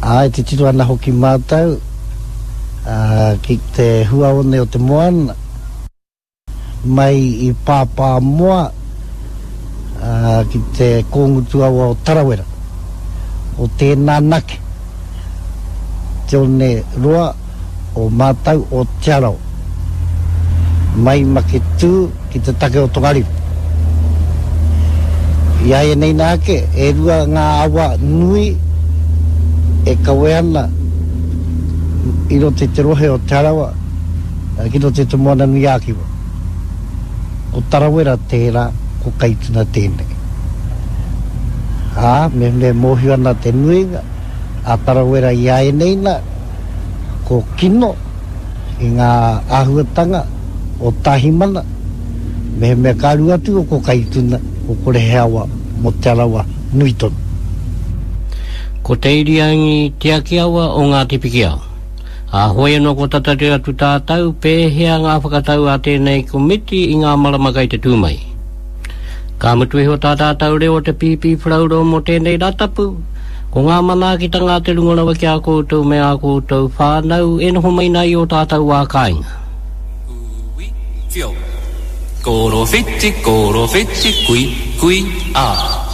Ā, e titiro ana hoki mātou ki te huaone o te moana, mai i Pāpāmoa ki te kōngutu awa o Tarawera, o tēnā nake, te one roa o mātou o Te Arawa, mai Maketū ki te take o Tongariro. I āianei nā ake, e rua ngā awa nui e kawe ana i roto i te rohe o Te Arawa ki roto i Te Moananui-a-Kiwa. Ko Tarawera tērā, ko Kaituna tēnei. Ā, mehemea e mōhio ana te nuinga a Tarawera i āianei nā, ko Kino i ngā āhuatanga o Tāhimana, mehemea ka aru atu ko Kaituna, ko kore he awa mō Te Arawa nui tonu. Ko Te Iriangi Tiakiawa o Ngāti Pikiao. Ā, hoi anō kua tatari atu tātou pēhea ngā whakatau a tēnei komiti i ngā marama kei te tū mai. Ka mutu iho tā tātou reo o te Pīpīwharauro mō tēnei Rātapu, ko ngā manaakitanga a te runga rawa ki a koutou me ā koutou whānau e noho mai nā i ō tātou wā kāinga. Ui, whio. Korowhiti, korowhiti, kui, kui, a.